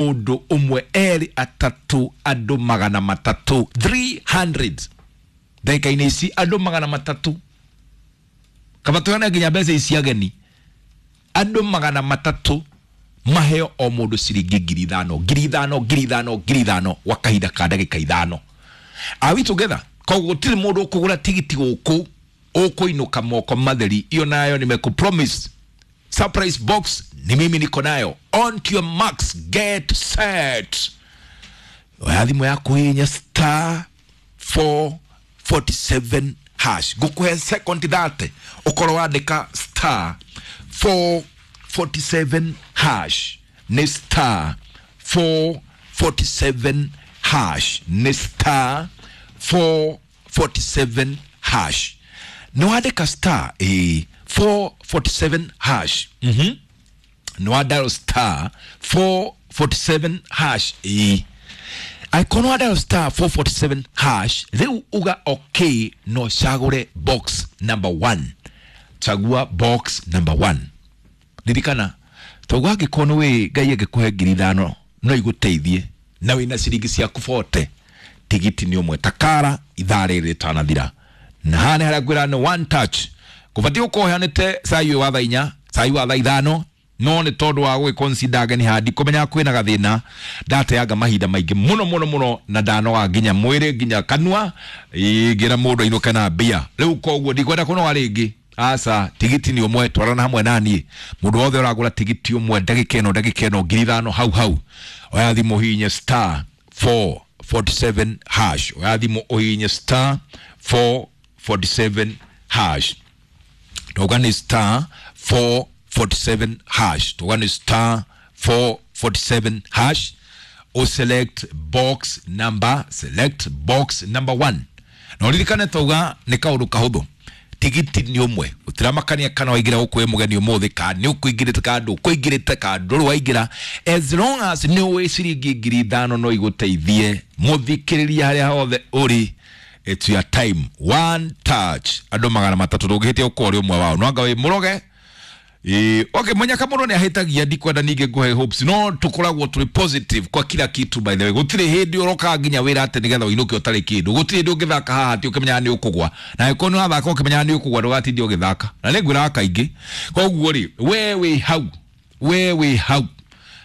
Mũndũ ũmwe, erĩ, atatũ, andũ 300, 300 ndagĩka-inĩ ici, andũ 300, kaba tũheane nginya mbeca ici ageni. Andũ 300 maheo o mũndũ ciringi 5,000, 5,000, 5,000, 5,000 gwa kahinda ka ndagĩka 5. Are we together? Koguo gũtirĩ mũndũ ũkũgũra tigiti gũkũ ũkũinũka moko matheri. Iyo nayo nimekupromise surprise box ni mimi niko nayo. On to your marks, get set. Oya thimũ yaku, hihinya star 447 hash. Ngũkũhe second 30 ũkorwo wandĩka star 447 hash. Nĩ star 447 hash, nĩ star 447 hash. Nĩ wandĩka star 447 hash? Nĩ wa dial star 447 hash? Ĩ, angĩkorwo wa dial star 447 hash, rĩu uga okay, no cagũre box number 1. Chagua box number 1. Ririkana toguo, angĩkorwo nĩ wĩ Ngai angĩkũhe 5,000 no igũteithie na wĩna ciringi ciaku 40, tigiti nĩ ũmwe takara ithaa rĩrĩ rĩtanathira. Na haha nĩ harĩa ngwĩra nĩ one touch. Gũbatiĩ gũkorwo ũheanĩte cai ũyũ wa thaa 4, cai wa thaa 5, no nĩ tondũ wa gũgĩconsider ageni haha, ndikũmenyaga kwĩna gathĩna, ndateanga mahinda maingĩ mũno mũno mũno na ndanoga nginya mwĩrĩ nginya kanua ingĩra mũndũ ainũke na mbia. Rĩu koguo ndikwenda kũnoga rĩngĩ, aca. Tigiti nĩ ũmwe, twarana hamwe naniĩ. Mũndũ wothe ũragũra tigiti ũmwe ndagĩka ĩno, ndagĩka ĩno, 5,000 hau hau. Oya thimũ, hihinye star 447 hash. Oya thimũ, ũhihinye star 447 hash. Tuga nĩ star 447 hash, tuga nĩ star 447 hash. O select box number, select box number 1. Na ũririkane tauga nĩ kaũndũ kahũthũ, tigiti nĩ ũmwe. Gũtiramakania kana waingĩra gũkũ wĩ mũgeni ũmũthĩ, kana nĩ ũkũingĩrĩte, kana ndũkũingĩrĩte, kana ndũrĩ waingĩra, as long as nĩ ũĩ ciringi 5,000 no igũteithie. Mũthikĩrĩria, harĩa hothe ũrĩ, it's your time. One touch, andũ 300, ndũngĩhĩtia gũkorwo ũrĩ ũmwe wao. No anga wĩ mũroge? Ĩĩ, okay, mũnyaka mũno nĩ ahĩtagia. Ndikwenda ningĩ ngũhe hopes, no tũkoragwo tũrĩ positive kwa kila kitu. By the way, gũtirĩ hĩndĩ ũrokaga nginya wĩra atĩ nĩgetha ũinũke ũtarĩ kĩndũ. Gũtirĩ hĩndĩ ũngĩthaka haha atĩ ũkĩmenyaga nĩ ũkũgwa, na angĩkorwo nĩ wathaka ũkĩmenyaga nĩ ũkũgwa, ndũgatinde ũgĩthaka. Na nĩ ngwĩraga kaingĩ. Koguo rĩ, we wĩ hau, we wĩ hau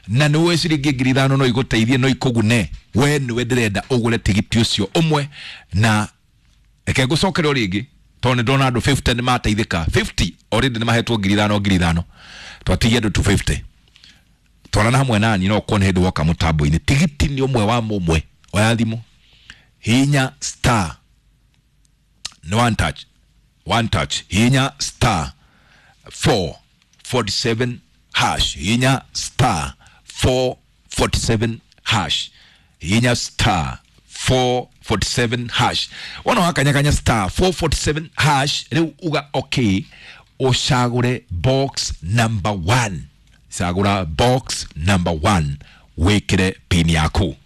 na nĩ ũĩ ciringi 5,000 no igũteithie, no ikũgune, we nĩwe ndĩrenda ũgũre tigiti ũcio ũmwe. Na reke ngũcokere o rĩngĩ, tondũ nĩ ndona andũ 50 nĩ mateithĩka. 50 already nĩ mahetwo 5,000, 5,000. Twatigia andũ 250. Twarana hamwe nani, no ũkorwo nĩ hĩndĩ woka mũtambo-inĩ. Tigiti nĩ ũmwe wa mũmwe. Oya thimũ, hinya star, nĩ one touch, one touch. Hinya star 447 hash, hinya star 447 hash, hinya star 447 hash. Wona wakanyakanya star 447 hash, rĩu uga okay, ũcagũre box number 1. Cagũra box number 1, wĩkĩre pin yaku.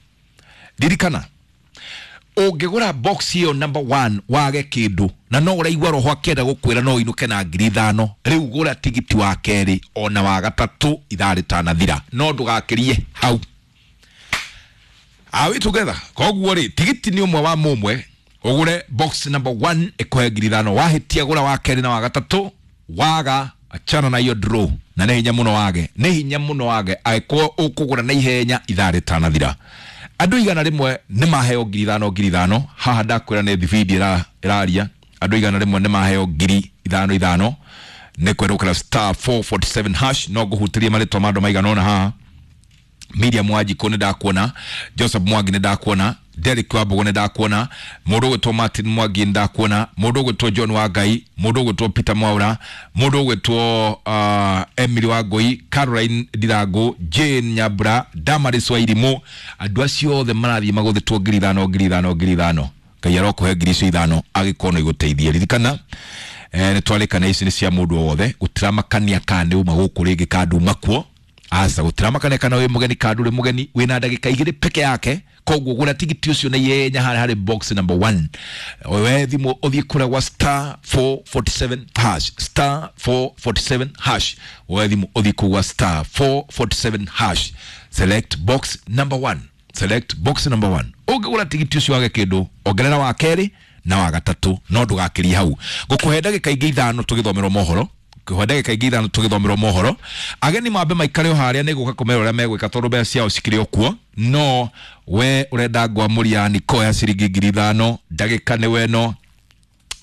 Ririkana, ũngĩgũra box ĩyo number 1 wage kĩndũ, na no ũraigua roho akĩenda gũkwĩra no ũinũke na 5,000, rĩu gũra tigiti wa kerĩ ona wa gatatũ ithaa rĩtanathira, no ndũgakĩrie hau. Are we together? Koguo rĩ, tigiti nĩ ũmwe wa mũmwe, ũgũre box number 1 ĩkũhe 5,000. Wahĩtia, gũra wa kerĩ na wa gatatũ. Waga, achana na hiyo draw. Na nĩ hinya mũno wage, nĩ hinya mũno wage angĩkorwo ũkũgũra na ihenya ithaa rĩtanathira. Andũ 100 nĩ maheo 5,000, 5,000. Haha ndakwĩra nĩ thibindi ĩraria. Andũ 100 nĩ maheo 5,000 5 nĩ kwerũkĩra star 447 hash. No ngũhutĩrie marĩtwa ma andũ maigana ũna haha. Miriam Wanjikũ nĩ ndakuona, Joseph Mwangi nĩ ndakuona, Derek Wambugu nĩ ndakuona, mũndũ ũgwĩtwo Martin Mwangi nĩ ndakuona, mũndũ ũgwĩtwo John Wangai, mũndũ ũgwĩtwo Peter Mwaura, mũndũ ũgwĩtwo Emily Wangui, Caroline Ndirangu, Jane Nyambura, Damaris Wairimu. Andũ acio othe marathiĩ magũthĩtwo 5,000, 5,000, 5,000. Ngai arokũhe 5,000 icio angĩkorwo no igũteithie. Ririkana, nĩ twarĩkana ici nĩ cia mũndũ o wothe. Gũtiramakania kana nĩ uma gũkũ rĩngĩ kana nduma kuo, aca. Gũtiramakania kana wĩ mũgeni kana ndũrĩ mũgeni. Wĩna ndagĩka 2 peke yake. Koguo gũra tigiti ũcio na ihenya harĩa harĩ box number 1. We thimũ, ũthiĩ kũrĩa gwa star 447 hash, star 447 hash. We thimũ, ũthiĩ kũu gwa star 447 hash. Select box number 1, select box number 1. Ũngĩgũra tigiti ũcio wage kĩndũ, ongerera wa kerĩ na wa gatatũ, no ndũgakĩrie hau. Ngũkũhe ndagĩka ingĩ 5 tũgĩthomerwo mohoro, ngũkũhe ndagĩka ingĩ 5 tũgĩthomerwo mohoro. Ageni mambe maikare o harĩa, nĩ gũka kũmera ũrĩa megwĩka tondũ mbeca ciao cikĩrĩ o kuo. No we ũrenda ngwamũria niko ya ciringi 5,000, ndagĩka nĩ weno,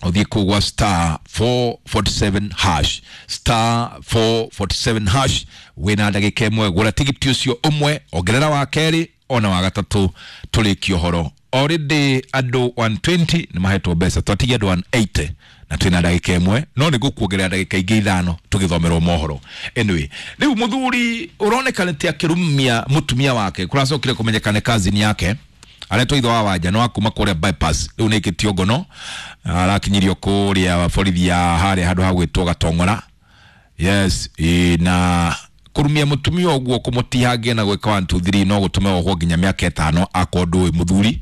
ũthiĩ kũu gwa star 447 hash, star 447 hash. Wĩna ndagĩka 1, gũra tigiti ũcio ũmwe, ongerera wa kerĩ ona wa gatatũ, tũrĩkie ũhoro. Already andũ 120 nĩ mahetwo mbeca, twatigia andũ 180 na twĩna ndagĩka 1, no nĩ ngũkuongerera ndagĩka ingĩ 5 tũgĩthomerwo mohoro. Anyway, rĩu mũthuri ũroneka nĩ ti akĩrumia mũtumia wake, kũracokire kũmenyeka nĩ cousin yake aretwo itho wa wanja no akuma kũrĩa bypass, rĩu nĩ ĩkĩtio ngono, arakinyirio kũrĩa borithi ya harĩa handũ ha gwĩtwo Gatong'ora. Yes, na kũrumia mũtumia ũguo kũmũtihangia na gwĩka 1 2 3 no gũtũme ohwo nginya mĩaka 5 akorwo ndũĩ mũthuri.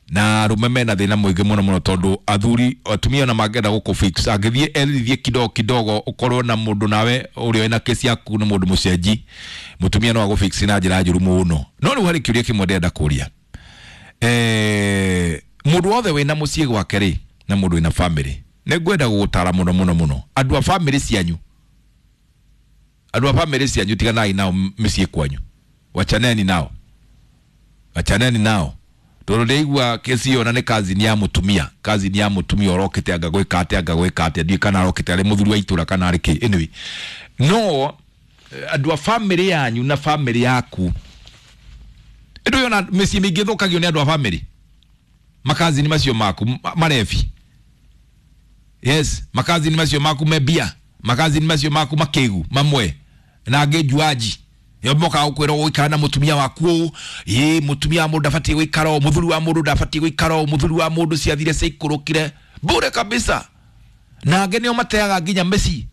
Na arũme mena thĩna mũingĩ mũno mũno, tondũ athuri atumia ona mangĩenda gũkũ fix, angĩthiĩ erithie kidogo kidogo, ũkorwo na mũndũ nawe ũrĩa wĩna kesi yaku nĩ mũndũ mũcenji, mũtumia no agũfix na njĩra njũru mũno. No rĩu harĩ kĩũria kĩmwe ndĩrenda kũria. Mũndũ wothe wĩna mũciĩ gwake rĩ, na mũndũ wĩna family, nĩ ngwenda gũgũtara mũno mũno mũno, andũ a family cianyu, andũ a family cianyu, tiganai nao mĩciĩ kwanyu, wachaneni nao, wachaneni nao. Tondũ ndĩigua kesi ĩyo na nĩ cousin ya mũtumia, cousin ya mũtumia ũrokĩte anga gwĩka atĩa, anga gwĩka atĩa, ndiũĩ kana arokĩte arĩ mũthuri wa itũra kana arĩ kĩ. Anyway, no andũ a family yanyu na family yaku, ĩndũ yona mĩciĩ mĩingĩ ĩthũkagio nĩ andũ a family, makazini macio maku marebi. Yes, makazini macio maku mebia, makazini macio maku makĩgu mamwe na angĩ njuaji. Yo moka gũkwĩra ũgũikara na mũtumia waku ũũ, ĩ mũtumia wa mũndũ ndabatiĩ gũikara ũũ, mũthuri wa mũndũ ndabatiĩ gũikara ũũ, mũthuri wa mũndũ ciathire ciaikũrũkire bure kabisa. Na angĩ nĩo mateaga nginya mĩciĩ.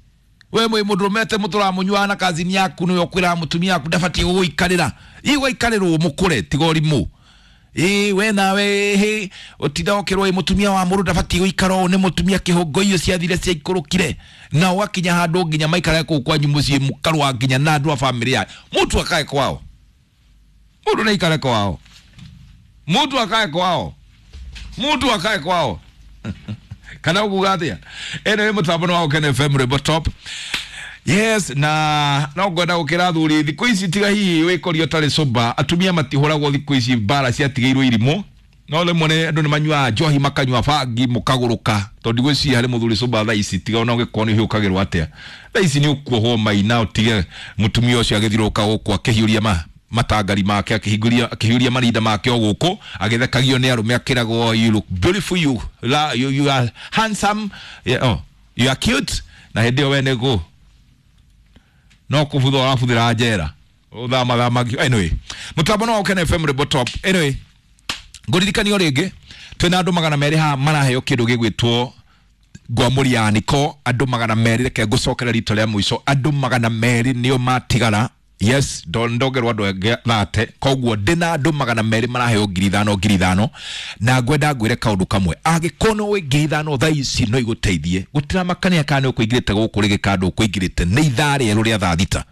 We mwĩ mũndũrũme atĩ mũtũramũnyuaga na kazini yaku, nĩwe ũkwĩraga mũtumia waku ndabatiĩ gũgũikarĩra. Ĩ gwaikarĩrwo mũkũre tiga ũrimũ. Ĩ we nawe hĩ ũtinda ũkĩrwo ĩ mũtumia wa mũndũ ndabatiĩ gũikara ũũ, nĩ mũtumia kĩhũngũ icio ciathire ciaikũrũkire. Na ũgakinya handũ nginya maikare kũu kwanyu mũciĩ mũkarũa nginya na andũ a family ya mũtu akae kwao, mũndũ nĩ aikare kwao, mũtu akae kwao, mũtu akae kwao. Kana ũkuga atĩa? Anyway, mũtambo nĩ wa Ũkene FM Rwĩmbo Top. Yes, na no ngwenda gũkĩra athuri thikũ ici, tiga hihi wĩkoria ũtarĩ sober, atumia matihũragwo thikũ ici, mbara ciatigĩirwo irimũ. No rĩmwe nĩ andũ nĩ manyuaga njohi makanyua bangi mũkagũrũka, tondũ ndigwĩciria harĩ mũthuri sober thaa ici, tiga ona ũngĩkorwo nĩ ũhĩũkagĩrwo atĩa, thaa ici nĩ ũkuohwo maina ũtige mũtumia ũcio agĩthiũrũrũka gũkũ akĩhiũria matangari make, akĩhiũria marinda make o gũkũ, agĩthekagio nĩ arũme, akĩragwo you look beautiful, you, you, you are handsome, yeah, oh, you are cute. Na hĩndĩ ĩyo we nĩ kũ no kũbutha ũrabuthĩra njera ũthamathamagio. Anyway, mũtambo no wa Ũkene FM Rwĩmbo Top. Anyway, ngũririkanio rĩngĩ twĩna andũ 200 haha maraheo kĩndũ gĩgwĩtwo ngwamũri ya niko. Andũ 200, reke ngũcokere rita rĩa mũico, andũ 200 nĩo matigara. Yes, ndongerwo andũ angĩ thate, koguo ndĩna andũ 200 maraheo 5,000 5,000. Na ngwenda ngwĩre kaũndũ kamwe, angĩkorwo no wĩ 5,000 thaa ici no igũteithie, gũtiramakania kana nĩ ũkũingĩrĩte gũkũ rĩngĩ kana ndũkũingĩrĩte, nĩ ithaa rĩerũ rĩa thaa 6.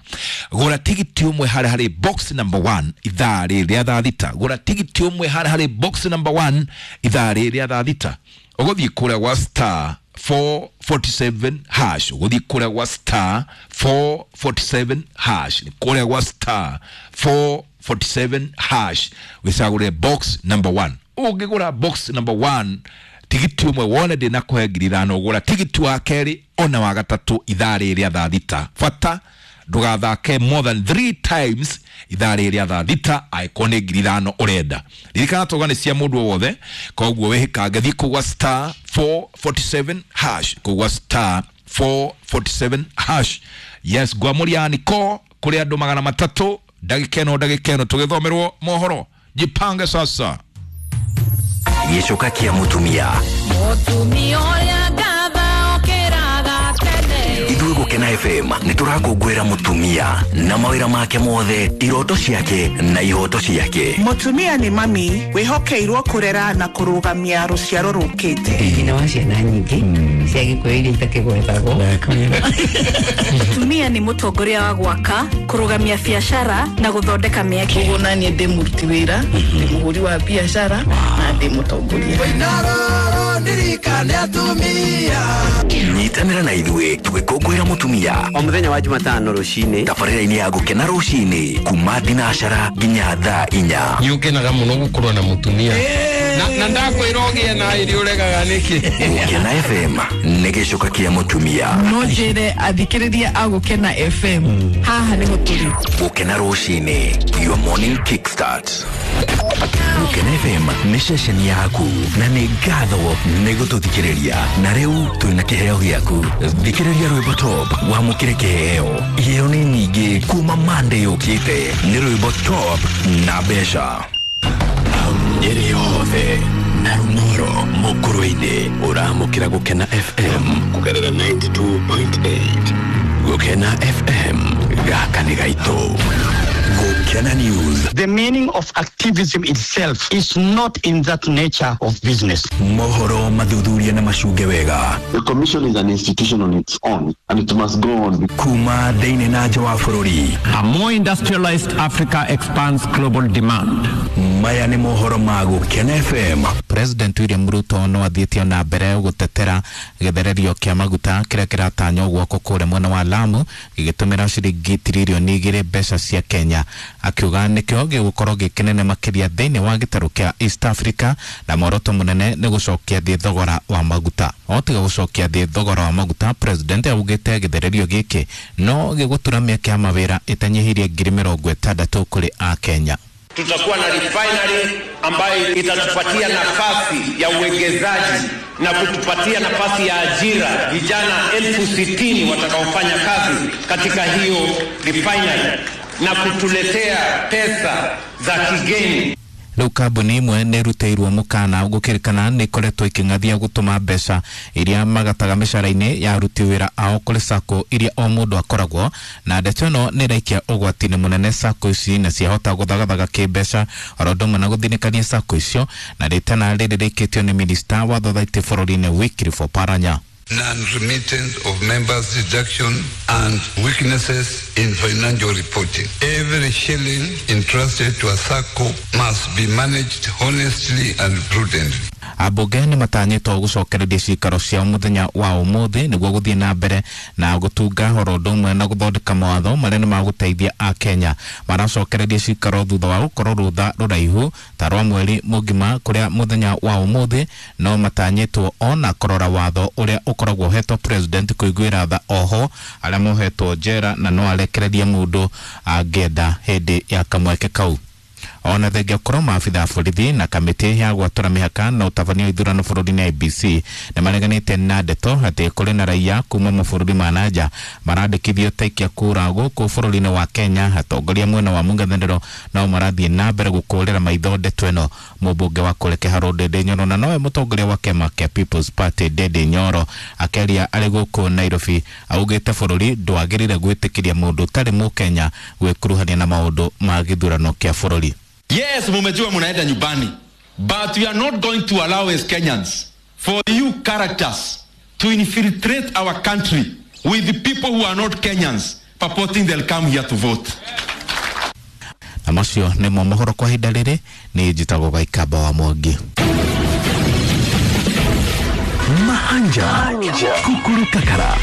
Gũra tigiti ũmwe harĩa harĩ box number 1 ithaa rĩrĩ rĩa thaa 6. Gũra tigiti ũmwe harĩa harĩ box number 1 ithaa rĩrĩ rĩa thaa 6. Ũgũthiĩ kũrĩa gwa star 447 hash, ũgũthiĩ kũrĩa gwa star 447 hash, kũrĩa gwa star 447 hash wĩcagũre box number 1. Ũngĩgũra box number 1 tigiti ũmwe wone ndĩna kũhe 5,000, ũgũra tigiti wa kerĩ ona wa gatatũ ithaa rĩrĩ rĩa thaa 6. Bata ndũgathake more than 3 times ithaa rĩrĩ rĩa thaa 6 angĩkorwo nĩ 5,000 ũrenda. Ririkana tauga nĩ cia mũndũ o wothe, koguo wĩhĩkange, thiĩ kũu gwa star 447 hash, kũu gwa star 447 hash. Yes, ngwamũria niko kũrĩ andũ 300, ndagĩka ĩno ndagĩka ĩno tũgĩthomerwo mohoro. Jipange sasa. Gĩcoka kĩa mũtumia. Mũtumia ũrĩa ngatha okĩraga tene. Ithuĩ Gũkena FM nĩ tũrakũngũĩra mũtumia na mawĩra make mothe, iroto ciake na ihoto ciake. Mũtumia nĩ mami wĩhokeirwo kũrera na kũrũgamia rũciaro rũkĩte. Nyina wa ciana nyingĩ cia Gĩkũyũ iria itakĩgwetagwo. Mũtumia nĩ mũtongoria wa gwaka, kũrũgamia biacara na gũthondeka mĩeke. Koguo naniĩ ndĩ mũruti wĩra, ndĩ mũhũri wa biacara na ndĩ mũtongoria. Nyitanĩra na ithuĩ tũgĩkũngũĩra mũtumia o mũthenya wa Jumatano rũcinĩ tabarĩra-inĩ ya Gũkena rũcinĩ kuma thinacara nginya thaa 4. Nĩ ũkenaga mũno gũkorwo na mũtumia na ndakwĩra ũgĩe na ĩrĩ ũregaga nĩkĩ. Gũkena FM nĩ gĩcoka kĩa mũtumia. No njĩre athikĩrĩria a Gũkena FM haha nĩho tũrĩ. Gũkena rũcinĩ, your morning kickstart. Gũkena FM nĩ ceceni yaku na nĩ ngatho nĩ gũtũthikĩrĩria, na rĩu twĩna kĩheo gĩaku. Thikĩrĩria rwĩmbo top wamũkĩre kĩheo. Iheo nĩ nyingĩ kuma Monday yũkĩte. Nĩ rwĩmbo top na mbeca. Nyeri yothe na Rumoro Mũkũrwe-inĩ ũramũkĩra Gũkena FM kũgerera 92.8. Gũkena FM gaka nĩ gaitũ. Gũkena News. The meaning of activism itself is not in that nature of business. Mohoro mathuthuria na macunge wega. The commission is an institution on its own and it must go on. Kuma thĩinĩ na nja wa bũrũri. A more industrialized Africa expands global demand. Maya nĩ mohoro ma Gũkena FM. President William Ruto no athiĩte na mbere gũtetera gĩthererio kĩa maguta kĩrĩa kĩratanywo gwakwo kũrĩa mwena wa Lamu gĩgĩtũmĩra ciringi tiririoni 2 mbeca cia Kenya, akiuga nĩkĩo gĩgũkorwo gĩkĩnene makĩria thĩinĩ wa gĩtarũ kĩa East Africa na muoroto mũnene nĩ gũcokia thĩ thogora wa maguta. O tiga gũcokia thĩ thogora wa maguta, President augĩte gĩthererio gĩkĩ no gĩgũtura mĩeke ya mawĩra ĩtanyihĩirie 60,000 kũrĩ Akenya. Tutakuwa na refinery ambayo itatupatia nafasi ya uwekezaji na kutupatia nafasi ya ajira, vijana 60,000 watakaofanya kazi katika hiyo refinery na kutuletea pesa za kigeni. Rĩu kambuni imwe nĩ ĩrutĩirwo mũkana gũkĩrĩkana nĩ ikoretwo ikĩng'athia gũtũma mbeca iria magataga mĩcara-inĩ ya aruti wĩra ao kũrĩ sacco iria o mũndũ akoragwo na ndeto ĩno nĩ ĩraikia ũgwati-inĩ mũnene sacco ici na ciahota gũthagathaga kĩmbeca oro ũndũ ũmwe na gũthinĩkania sacco icio, na rĩtana rĩrĩ rĩikĩtio nĩ minista wa thothaitĩ bũrũri-inĩ Wycliffe Oparanya. Non-remittance of members' deduction and weaknesses in financial reporting. Every shilling entrusted to a SACCO must be managed honestly and prudently. Ambunge nĩ matanyĩtwo gũcokereria cikaro ciao mũthenya wa ũmũthĩ nĩguo gũthiĩ na mbere na gũtunga oro ũndũ ũmwe na gũthondeka mawatho marĩa nĩ magũteithia Akenya. Maracokereria cikaro thutha wa gũkorwo rũtha rũraihu ta rwa mweri mũgima kũrĩa mũthenya wa ũmũthĩ no matanyĩtwo ona kũrora watho ũrĩa ũkoragwo ũhetwo president kũiguĩra tha oho arĩa mohetwo njera na no arekererie mũndũ angĩenda hĩndĩ ya kamweke kau. Ona thengia gũkorwo maabitha a borithi na kamĩtĩ ya gwatũra mĩhaka na ũtabania wa ithurano bũrũri-inĩ IEBC nĩ mareganĩte na ndeto atĩ kũrĩ na raia kuma mabũrũri ma nanja marandĩkithio ta aikia kura gũkũ bũrũri-inĩ wa Kenya. Atongoria mwena wa mũng'ethanĩro nao marathiĩ na mbere gũkũrĩra maitho ndeto ĩno. Mũmbunge wa kũrĩa Kĩharũ Ndindi Nyoro na nowe mũtongoria wa kĩama kĩa People's Party Ndindi Nyoro akĩaria arĩ gũkũ Nairobi augĩte bũrũri ndwagĩrĩire gwĩtĩkĩria mũndũ ũtarĩ mũkenya gwĩkuruhania na maũndũ ma gĩthurano kĩa bũrũri. Yes, mumejua munaenda nyumbani, but we are not going to allow as Kenyans for you characters to infiltrate our country with the people who are not Kenyans purporting they'll come here to vote. Na macio nĩmo mohoro kwa ihinda rĩrĩ. Nĩ njĩtagwo Gaikamba wa Mwangi. Mahanja Kukuru Kakara.